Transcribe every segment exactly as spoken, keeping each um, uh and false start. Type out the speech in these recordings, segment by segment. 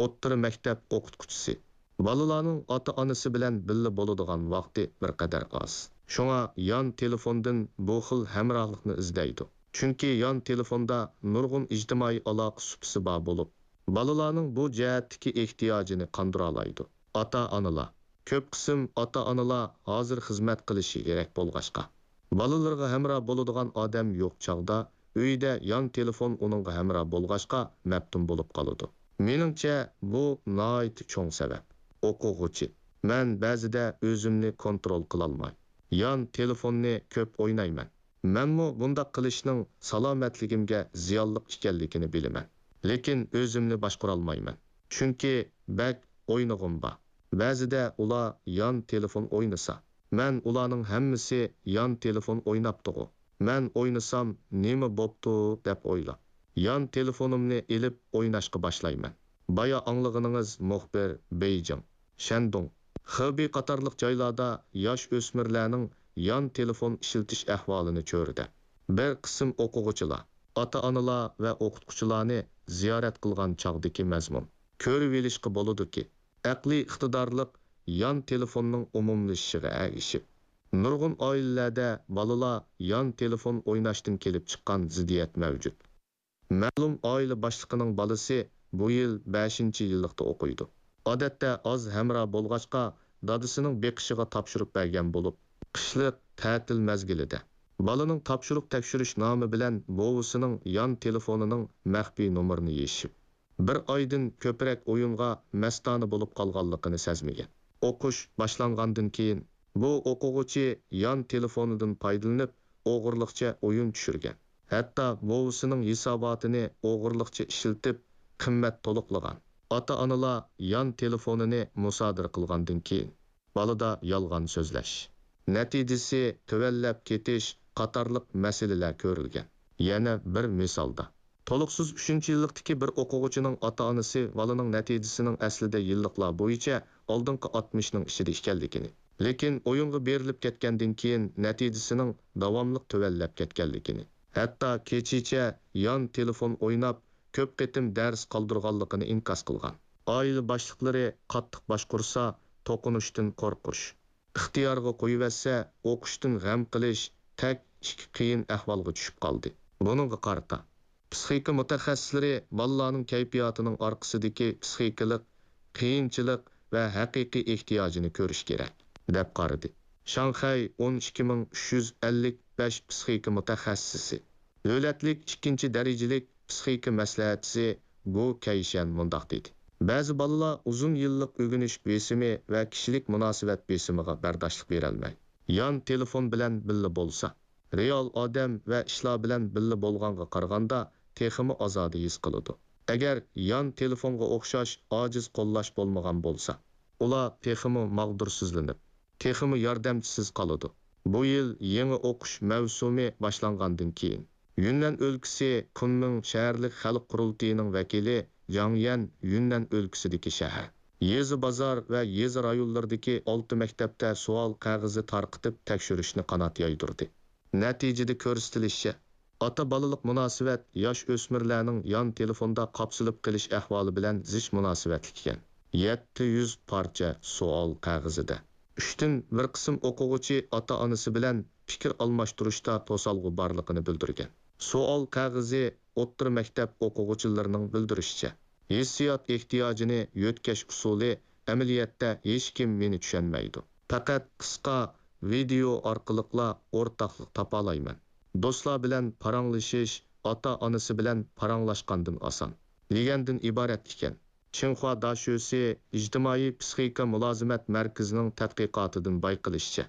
ئوتتۇرا مەكتەپ ئوقۇتقۇچىسى. بالىلارنىڭ ئاتا-ئانىسى بىلەن بىللە بولىدىغان ۋاقتى بىر قەدەر ئاز. شۇڭا يان تېلېفوندىن بۇ خىل ھەمراھلىقنى ئىزدەيدۇ. چۈنكى يان تېلېفوندا نۇرغۇن ئىجتىمائىي ئالاقە سۇپىسى بار بولۇپ، بالىلارنىڭ بۇ جەھەتتىكى ئېھتىياجىنى قاندۇرالايدۇ. ئاتا-ئانىلار. كۆپ قىسىم ئاتا-ئانىلار ھازىر خىزمەت قىلىشى كېرەك بولغاچقا، بالىلىرىغا ھەمراھ بولىدىغان ئادەم يوق چاغدا، ئۆيدە يان تېلېفون ئۇنىڭغا ھەمراھ بولغاچقا، مەپتۇن بولۇپ قالىدۇ. مېنىڭچە، بۇ ناھايىتى چوڭ سەۋەب. ئوقۇغۇچى. مەن بەزىدە ئۆزۈمنى كونترول قىلالماي، يان تېلېفوننى كۆپ ئوينايمەن. مەنمۇ بۇنداق قىلىشنىڭ سالامەتلىكىمگە زىيانلىق ئىكەنلىكىنى بىلىمەن، لېكىن ئۆزۈمنى باشقۇرالمايمەن، چۈنكى بەك ئوينىغۇم بار. بەزىدە ئۇلار يان تېلېفون ئوينىسا، مەن ئۇلارنىڭ ھەممىسى يان تېلېفون ئويناپتىغۇ، مەن ئوينىسام نېمە بوپتۇ دەپ ئويلاپ، يان تېلېفونۇمنى ئېلىپ ئويناشقا باشلايمەن. بايا ئاڭلىغىنىڭىز مۇخبىر بېيجىڭ، شەندۇڭ، خېبېي قاتارلىق جايلاردا ياش ئۆسمۈرلەرنىڭ يان تېلېفون ئىشلىتىش ئەھۋالىنى چۆرىدەپ، بىر قىسىم ئوقۇغۇچىلار، ئاتا-ئانىلار ۋە ئوقۇتقۇچىلارنى زىيارەت قىلغان چاغدىكى مەزمۇن. كۆرۈۋېلىشقا بولىدۇكى، ئەقلىي ئىقتىدارلىق يان تېلېفوننىڭ ئومۇملىشىشىغا ئەگىشىپ، نۇرغۇن ئائىلىلەردە بالىلار يان تېلېفون ئويناشتىن كېلىپ چىققان زىددىيەت مەۋجۇت. مەلۇم ئائىلە باشلىقىنىڭ بالىسى بۇ يىل بەشىنچى يىللىقتا ئوقۇيدۇ. ئادەتتە ئاز ھەمراھ بولغاچقا، دادىسىنىڭ بېقىشىغا تاپشۇرۇپ بەرگەن بولۇپ، قىشلىق تەتىل مەزگىلىدە بالىنىڭ تاپشۇرۇق تەكشۈرۈش نامى بىلەن بوۋىسىنىڭ يان تېلېفونىنىڭ مەخپىي نومۇرىنى يېشىپ، بىر ئايدىن كۆپرەك ئويۇنغا مەستانە بولۇپ قالغانلىقىنى سەزمىگەن. ئوقۇش باشلانغاندىن كېيىن، بۇ ئوقۇغۇچى يان تېلېفونىدىن پايدىلىنىپ، ئوغرىلىقچە ئويۇن چۈشۈرگەن. ھەتتا بوۋىسىنىڭ ھېساباتىنى ئوغرىلىقچە ئىشلىتىپ، قىممەت تولۇقلىغان. ئاتا-ئانىلار يان تېلېفونىنى مۇسادىرە قىلغاندىن كېيىن، بالىدا يالغان سۆزلەش، نەتىجىسى تۆۋەنلەپ كېتىش قاتارلىق مەسىلىلەر كۆرۈلگەن. يەنە بىر مىسالدا، تولۇقسىز ئۈچىنچى يىللىقتىكى بىر ئوقۇغۇچىنىڭ ئاتا-ئانىسى بالىنىڭ نەتىجىسىنىڭ ئەسلىدە يىللىقلار بويىچە ئالدىنقى ئاتمىشنىڭ ئىچىدە ئىكەنلىكىنى، لېكىن ئويۇنغا بېرىلىپ كەتكەندىن كېيىن نەتىجىسىنىڭ داۋاملىق تۆۋەنلەپ كەتكەنلىكىنى، ھەتتا كېچىچە يان تېلېفون ئويناپ، كۆپ قېتىم دەرس قالدۇرغانلىقىنى ئىنكاس قىلغان. ئائىلە باشلىقلىرى قاتتىق باشقۇرسا، توقۇنۇشتىن قورقۇش، ئىختىيارغا قويۇۋەتسە، ئوقۇشتىن غەم قىلىش تەك ئىككى قىيىن ئەھۋالغا چۈشۈپ قالدى. بۇنىڭغا قارىتا، پىسخىكا مۇتەخەسسىسلىرى بالىلارنىڭ كەيپىياتىنىڭ ئارقىسىدىكى پىسخىكىلىق قىيىنچىلىق ۋە ھەقىقىي ئېھتىياجىنى كۆرۈش كېرەك، دەپ قارىدى. شاڭخەي ئون ئىككى مىڭ ئۈچ يۈز ئەللىك بەش پىسخىكا مۇتەخەسسىسى، دۆلەتلىك ئىككىنچى دەرىجىلىك پىسخىكا مەسلىھەتچىسى گو كەيشەن مۇنداق دېدى: بەزى بالىلار ئۇزۇن يىللىق ئۆگىنىش بېسىمى ۋە كىشىلىك مۇناسىۋەت بېسىمىغا بەرداشلىق بېرەلمەي، يان تېلېفون بىلەن بىللە بولسا، رېئال ئادەم ۋە ئىشلار بىلەن بىللە بولغانغا قارىغاندا تېخىمۇ ئازادە ھېس قىلىدۇ. ئەگەر يان تېلېفونغا ئوخشاش ئاجىز قوللاش بولمىغان بولسا، ئۇلار تېخىمۇ ماغدۇرسىزلىنىپ، تېخىمۇ ياردەمچىسىز قالىدۇ. بۇ يىل يېڭى ئوقۇش مەۋسۇمى باشلانغاندىن كېيىن، يۈننەن ئۆلكىسى كۇنمىڭ شەھەرلىك خەلق قۇرۇلتىيىنىڭ ۋەكىلى جاڭ يەن يۈننەن ئۆلكىسىدىكى شەھەر، يېزا، بازار ۋە يېزا رايونلىرىدىكى ئالتە مەكتەپتە سوئال قەغىزى تارقىتىپ تەكشۈرۈشنى قانات يايدۇردى. نەتىجىدە كۆرسىتىلىشىچە، ئاتا-بالىلىق مۇناسىۋەت ياش ئۆسمۈرلەرنىڭ يان تېلېفوندا قاپسىلىپ قېلىش ئەھۋالى بىلەن زىچ مۇناسىۋەتلىك ئىكەن. يەتتە يۈز پارچە سوئال قەغىزىدە ئۈچتىن بىر قىسىم ئوقۇغۇچى ئاتا-ئانىسى بىلەن پىكىر ئالماشتۇرۇشتا توسالغۇ بارلىقىنى بىلدۈرگەن. سوئال قەغىزى ئوتتۇرا مەكتەپ ئوقۇغۇچىلىرىنىڭ بىلدۈرۈشىچە، ھېسسىيات ئېھتىياجىنى يۆتكەش ئۇسۇلى ئەمەلىيەتتە ھېچكىم مېنى چۈشەنمەيدۇ. پەقەت قىسقا ۋىدېئو ئارقىلىقلا ئورتاقلىق تاپالايمەن. دوستلار بىلەن پاراڭلىشىش ئاتا-ئانىسى بىلەن پاراڭلاشقاندىن ئاسان، دېگەندىن ئىبارەت ئىكەن. چىڭخۇا داشۆسى ئىجتىمائىي پىسخىكا مۇلازىمەت مەركىزىنىڭ تەتقىقاتىدىن بايقىلىشىچە،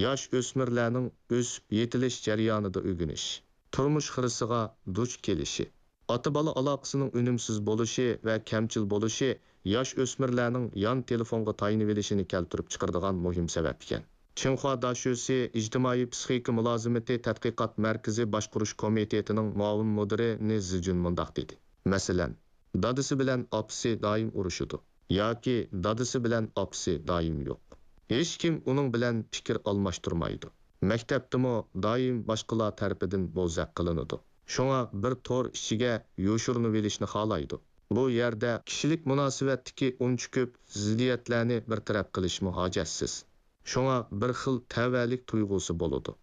ياش ئۆسمۈرلەرنىڭ ئۆسۈپ يېتىلىش جەريانىدا ئۆگىنىش، تۇرمۇش خىرىسىغا دۇچ كېلىشى، ئاتا-بالا ئالاقىسىنىڭ ئۈنۈمسىز بولۇشى ۋە كەمچىل بولۇشى ياش ئۆسمۈرلەرنىڭ يان تېلېفونغا تايىنىۋېلىشىنى كەلتۈرۈپ چىقىرىدىغان مۇھىم سەۋەب ئىكەن. چىڭخۇا داشۆسى ئىجتىمائىي پىسخىكا مۇلازىمىتى تەتقىقات مەركىزى باشقۇرۇش كومىتېتىنىڭ مۇئاۋىن مۇدىرى نى زىجۈن مۇنداق دېدى: مەسىلەن، دادىسى بىلەن ئاپىسى دائىم ئۇرۇشىدۇ ياكى دادىسى بىلەن ئاپىسى دائىم يوق. ھېچكىم ئۇنىڭ بىلەن پىكىر ئالماشتۇرمايدۇ. مەكتەپتىمۇ دائىم باشقىلار تەرىپىدىن بوزەك قىلىنىدۇ. شۇڭا بىر تور ئىچىگە يوشۇرۇنۇۋېلىشنى خالايدۇ. بۇ يەردە كىشىلىك مۇناسىۋەتتىكى ئۇنچە كۆپ زىددىيەتلەرنى بىر تەرەپ قىلىشمۇ ھاجەتسىز. شۇڭا بىر خىل تەۋەلىك تۇيغۇسى بولىدۇ.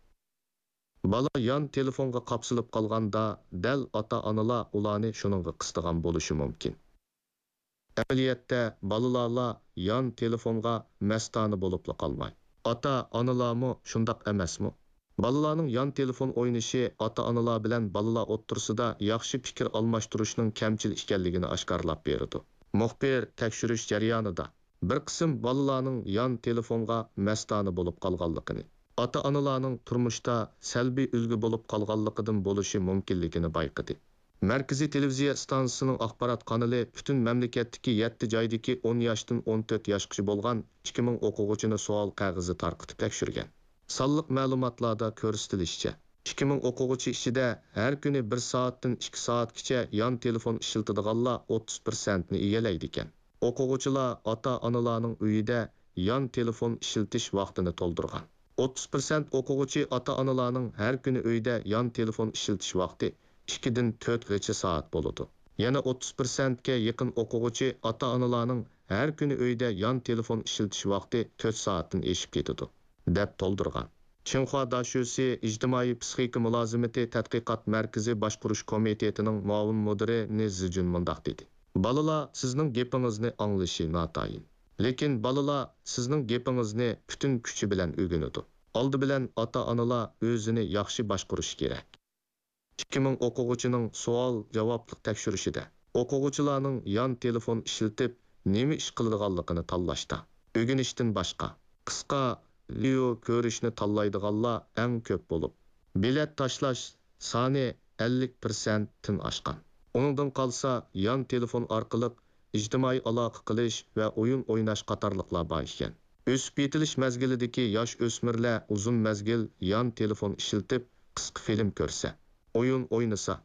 بالا يان تېلېفونغا قاپسىلىپ قالغاندا، دەل ئاتا-ئانىلار ئۇلارنى شۇنىڭغا قىستىغان بولۇشى مۇمكىن. ئەمەلىيەتتە، بالىلارلا يان تېلېفونغا مەستانە بولۇپلا قالماي، ئاتا-ئانىلارمۇ شۇنداق ئەمەسمۇ؟ بالىلارنىڭ يان تېلېفون ئوينىشى ئاتا-ئانىلار بىلەن بالىلار ئوتتۇرىسىدا ياخشى پىكىر ئالماشتۇرۇشنىڭ كەمچىل ئىكەنلىكىنى ئاشكارىلاپ بېرىدۇ. مۇخبىر تەكشۈرۈش جەريانىدا بىر قىسىم بالىلارنىڭ يان تېلېفونغا مەستانە بولۇپ قالغانلىقىنى، ئاتا-ئانىلارنىڭ تۇرمۇشتا سەلبىي ئۈلگە بولۇپ قالغانلىقىدىن بولۇشى مۇمكىنلىكىنى بايقىدى. مەركىزىي تېلېۋىزىيە ئىستانسىسىنىڭ ئاخبارات قانىلى پۈتۈن مەملىكەتتىكى يەتتە جايدىكى ئون ياشتىن ئون تۆت ياشقىچە بولغان ئىككى مىڭ ئوقۇغۇچىنى سوئال قەغىزى تارقىتىپ تەكشۈرگەن. سانلىق مەلۇماتلاردا كۆرسىتىلىشىچە، ئىككى مىڭ ئوقۇغۇچى ئىچىدە ھەر كۈنى بىر سائەتتىن ئىككى سائەتكىچە يان تېلېفون ئىشلىتىدىغانلار ئوتتۇز پىرسەنتنى ئىگىلەيدىكەن. ئوقۇغۇچىلار ئاتا-ئانىلارنىڭ ئۆيىدە يان تېلېفون ئىشلىتىش ۋاقتىنى تولدۇرغان. ئوتتۇز پىرسەنت ئوقۇغۇچى ئاتا-ئانىلارنىڭ ھەر كۈنى ئۆيدە يان تېلېفون ئىشلىتىش ۋاقتى ئىككىدىن تۆتكىچە سائەت بولىدۇ. يەنە ئوتتۇز پىرسەنتكە يېقىن ئوقۇغۇچى ئاتا-ئانىلارنىڭ ھەر كۈنى ئۆيدە يان تېلېفون ئىشلىتىش ۋاقتى تۆت سائەتتىن ئېشىپ كېتىدۇ، دەپ تولدۇرغان. چىڭخۇا داشۆسى ئىجتىمائىي پسىخىكا مۇلازىمىتى تەتقىقات مەركىزى باشقۇرۇش كومىتېتىنىڭ مۇئاۋىن مۇدىرى نى زىجۈن مۇنداق دېدى: بالىلار سىزنىڭ گېپىڭىزنى ئاڭلىشى ناتايىن. لېكىن بالىلار سىزنىڭ گېپىڭىزنى پۈتۈن كۈچى بىلەن ئۆگىنىدۇ. ئالدى بىلەن ئاتا-ئانىلار ئۆزىنى ياخشى باشقۇرۇشى كېرەك. ئىككى مىڭ ئوقۇغۇچىنىڭ سوئال-جاۋابلىق تەكشۈرۈشىدە، ئوقۇغۇچىلارنىڭ يان تېلېفون ئىشلىتىپ نېمە ئىش قىلىدىغانلىقىنى تاللاشتا، ئۆگىنىشتىن باشقا، قىسقا ۋىدېئو كۆرۈشنى تاللايدىغانلار ئەڭ كۆپ بولۇپ، بېلەت تاشلاش سانى ئەللىك پىرسەنتتىن ئاشقان. ئۇنىڭدىن قالسا، يان تېلېفون ئارقىلىق ئىجتىمائىي ئالاقە قىلىش ۋە ئويۇن ئويناش قاتارلىقلار بار ئىكەن. ئۆسۈپ يېتىلىش مەزگىلىدىكى ياش ئۆسمۈرلەر ئۇزۇن مەزگىل يان تېلېفون ئىشلىتىپ، قىسقا فىلىم كۆرسە، ئويۇن ئوينىسا،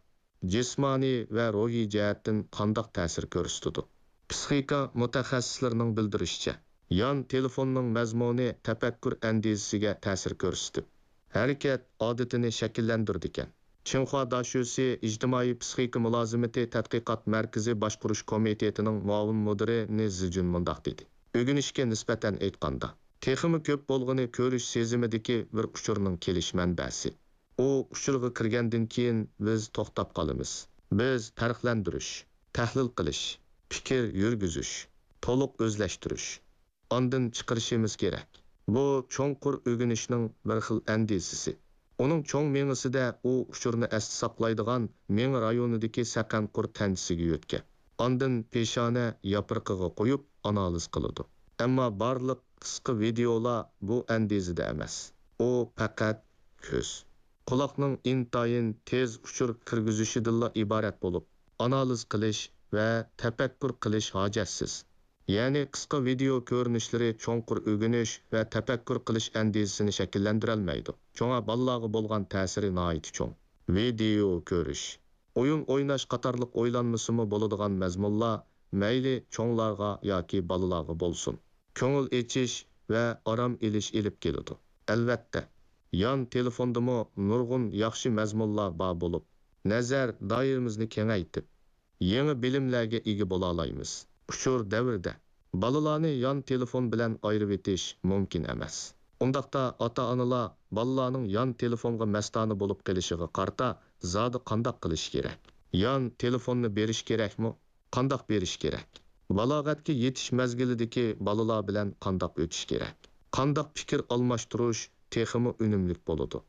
جىسمانىي ۋە روھىي جەھەتتىن قانداق تەسىر كۆرسىتىدۇ؟ پسىخىكا مۇتەخەسسىسلىرىنىڭ بىلدۈرۈشىچە، يان تېلېفوننىڭ مەزمۇنى تەپەككۇر ئەندىزىسىگە تەسىر كۆرسىتىپ، ھەرىكەت ئادىتىنى شەكىللەندۈرىدىكەن. چىڭخۇا داشۆسى ئىجتىمائىي پسىخىكا مۇلازىمىتى تەتقىقات مەركىزى باشقۇرۇش كومىتېتىنىڭ مۇئاۋىن مۇدىرى نى زىجۈن مۇنداق دېدى: ئۆگىنىشكە نىسبەتەن ئېيتقاندا، تېخىمۇ كۆپ بولغىنى كۆرۈش سېزىمىدىكى بىر ئۇچۇرنىڭ كېلىش مەنبەسى. ئۇ ئۇچۇرغا كىرگەندىن كېيىن بىز توختاپ قالىمىز. بىز پەرقلەندۈرۈش، تەھلىل قىلىش، پىكىر يۈرگۈزۈش، تولۇق ئۆزلەشتۈرۈش، ئاندىن چىقىرىشىمىز كېرەك. بۇ چوڭقۇر ئۆگىنىشنىڭ بىر خىل ئەندىزىسى. ئۇنىڭ چوڭ مېڭىسىدە ئۇ ئۇچۇرنى ئەستە ساقلايدىغان مېڭە رايونىدىكى سەقەن قۇر تەنچىسىگە يۆتكەپ، ئاندىن پېشانە ياپرىقىغا قويۇپ ئانالىز قىلىدۇ. ئەمما بارلىق قىسقا ۋىدېئولار بۇ ئەندىزىدە ئەمەس. ئۇ پەقەت كۆز، قۇلاقنىڭ ئىنتايىن تېز ئۇچۇر كىرگۈزۈشىدىنلا ئىبارەت بولۇپ، ئانالىز قىلىش ۋە تەپەككۇر قىلىش ھاجەتسىز. يەنى قىسقا ۋىدېئو كۆرۈنۈشلىرى چوڭقۇر ئۆگىنىش ۋە تەپەككۇر قىلىش ئەندىزىسىنى شەكىللەندۈرەلمەيدۇ. شۇڭا بالىلارغا بولغان تەسىرى ناھايىتى چوڭ. ۋىدېئو كۆرۈش، ئويۇن ئويناش قاتارلىق ئويلانمىسىمۇ بولىدىغان مەزمۇنلار مەيلى چوڭلارغا ياكى بالىلارغا بولسۇن، كۆڭۈل ئېچىش ۋە ئارام ئېلىش ئېلىپ كېلىدۇ. ئەلۋەتتە، يان تېلېفوندىمۇ نۇرغۇن ياخشى مەزمۇنلار بار بولۇپ، نەزەر دائىرىمىزنى كېڭەيتىپ، يېڭى بىلىملەرگە ئىگە بولالايمىز. ئۇچۇر دەۋرىدە بالىلارنى يان تېلېفون بىلەن ئايرىۋېتىش مۇمكىن ئەمەس. ئۇنداقتا ئاتا-ئانىلار بالىلارنىڭ يان تېلېفونغا مەستانە بولۇپ قېلىشىغا قارىتا زادى قانداق قىلىش كېرەك؟ يان تېلېفوننى بېرىش كېرەكمۇ؟ قانداق بېرىش كېرەك؟ بالاغەتكە يېتىش مەزگىلىدىكى بالىلار بىلەن قانداق ئۆتۈش كېرەك؟ قانداق پىكىر ئالماشتۇرۇش تېخىمۇ ئۈنۈملۈك بولىدۇ؟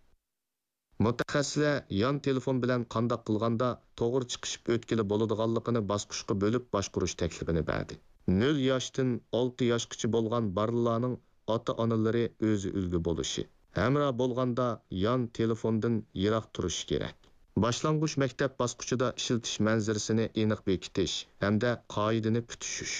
مۇتەخەسسىسلەر يان تېلېفون بىلەن قانداق قىلغاندا توغرا چىقىشىپ ئۆتكىلى بولىدىغانلىقىنى باسقۇچقا بۆلۈپ باشقۇرۇش تەكلىپىنى بەردى. نۆل ياشتىن ئالتە ياشقىچە بولغان بالىلارنىڭ ئاتا-ئانىلىرى ئۆزى ئۈلگە بولۇشى، ھەمراھ بولغاندا يان تېلېفوندىن يىراق تۇرۇشى كېرەك. باشلانغۇچ مەكتەپ باسقۇچىدا ئىشلىتىش مەنزىرىسىنى ئېنىق بېكىتىش ھەمدە قائىدىنى پۈتۈشۈش.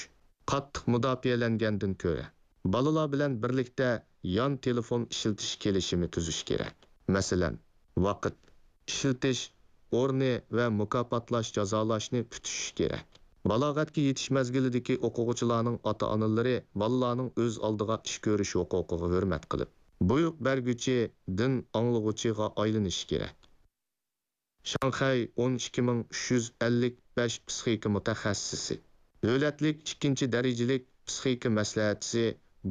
قاتتىق مۇداپىئەلەنگەندىن كۆرە، بالىلار بىلەن بىرلىكتە يان تېلېفون ئىشلىتىش كېلىشىمى تۈزۈش كېرەك. مەسىلەن، ۋاقىت، ئىشلىتىش ئورنى ۋە مۇكاپاتلاش، جازالاشنى پۈتۈشۈش كېرەك. بالاغەتكە يېتىش مەزگىلىدىكى ئوقۇغۇچىلارنىڭ ئاتا-ئانىلىرى بالىلارنىڭ ئۆز ئالدىغا ئىش كۆرۈش ھوقۇقىغا ھۆرمەت قىلىپ، بۇيرۇق بەرگۈچى، دىن ئاڭلىغۇچىغا ئايلىنىشى كېرەك. شاڭخەي ئون ئىككى مىڭ ئۈچ يۈز ئەللىك بەش پىسخىكا مۇتەخەسسىسى، دۆلەتلىك ئىككىنچى دەرىجىلىك پىسخىكا مەسلىھەتچىسى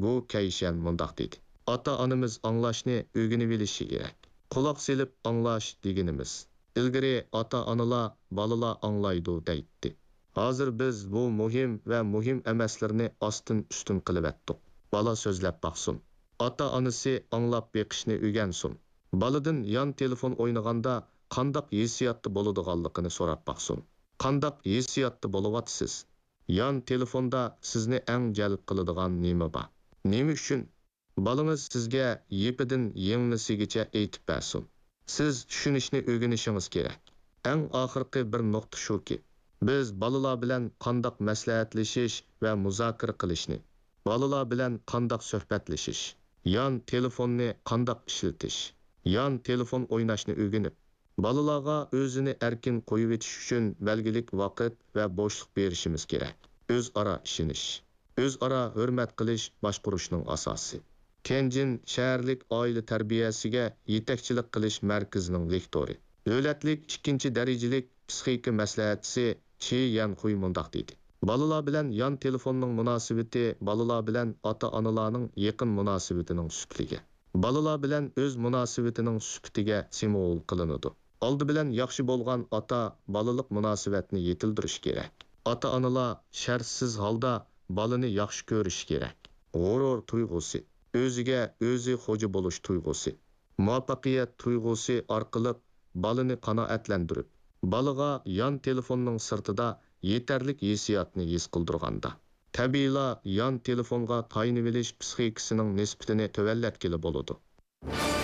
بۇ كەيشەن مۇنداق دېدى: ئاتا-ئانىمىز ئاڭلاشنى ئۆگىنىۋېلىشى كېرەك. قۇلاق سېلىپ ئاڭلاش دېگىنىمىز، ئىلگىرى ئاتا-ئانىلار بالىلار ئاڭلايدۇ دەيتتى. ھازىر بىز بۇ مۇھىم ۋە مۇھىم ئەمەسلىرىنى ئاستىن-ئۈستۈن قىلىۋەتتۇق. بالا سۆزلەپ باقسۇن. ئاتا-ئانىسى ئاڭلاپ بېقىشنى ئۆگەنسۇن. بالىدىن يان تېلېفون ئوينىغاندا قانداق ھېسسىياتتا بولىدىغانلىقىنى سوراپ باقسۇن. قانداق ھېسسىياتتا بولۇۋاتىسىز؟ يان تېلېفوندا سىزنى ئەڭ جەلپ قىلىدىغان نېمە بار؟ نېمە ئۈچۈن؟ بالىڭىز سىزگە يىپىدىن يىڭنىسىگىچە ئېيتىپ بەرسۇن. سىز چۈشىنىشنى ئۆگىنىشىڭىز كېرەك. ئەڭ ئاخىرقى بىر نۇقتا شۇكى، بىز بالىلار بىلەن قانداق مەسلىھەتلىشىش ۋە مۇزاكىرە قىلىشنى، بالىلار بىلەن قانداق سۆھبەتلىشىش، يان تېلېفوننى قانداق ئىشلىتىش، يان تېلېفون ئويناشنى ئۆگىنىپ، بالىلارغا ئۆزىنى ئەركىن قويۇۋېتىش ئۈچۈن بەلگىلىك ۋاقىت ۋە بوشلۇق بېرىشىمىز كېرەك. ئۆزئارا ئىشىنىش، ئۆزئارا ھۆرمەت قىلىش باشقۇرۇشنىڭ ئاساسى. كەنجىن شەھەرلىك ئائىلە تەربىيەسىگە يېتەكچىلىك قىلىش مەركىزىنىڭ لېكتورى، دۆلەتلىك ئىككىنچى دەرىجىلىك پىسخىكا مەسلىھەتچىسى چى يەنخۇي مۇنداق دېدى: بالىلار بىلەن يان تېلېفوننىڭ مۇناسىۋىتى بالىلار بىلەن ئاتا-ئانىلارنىڭ يېقىن مۇناسىۋىتىنىڭ سۈپىتىگە، بالىلار بىلەن ئۆز مۇناسىۋىتىنىڭ سۈپىتىگە سېموۋول قىلىنىدۇ. ئالدى بىلەن ياخشى بولغان ئاتا بالىلىق مۇناسىۋەتنى يېتىلدۈرۈش كېرەك. ئاتا-ئانىلار شەرتسىز ھالدا بالىنى ياخشى كۆرۈشى كېرەك. غۇرۇر تۇيغۇسى، ئۆزىگە ئۆزى خوجا بولۇش تۇيغۇسى، مۇۋەپپەقىيەت تۇيغۇسى ئارقىلىق بالىنى قانائەتلەندۈرۈپ، بالىغا يان تېلېفوننىڭ سىرتىدا يېتەرلىك ھېسسىياتنى ھېس قىلدۇرغاندا، تەبىئىيلا يان تېلېفونغا تايىنىۋېلىش پىسخىكىسىنىڭ نىسبىتىنى تۆۋەنلەتكىلى بولىدۇ.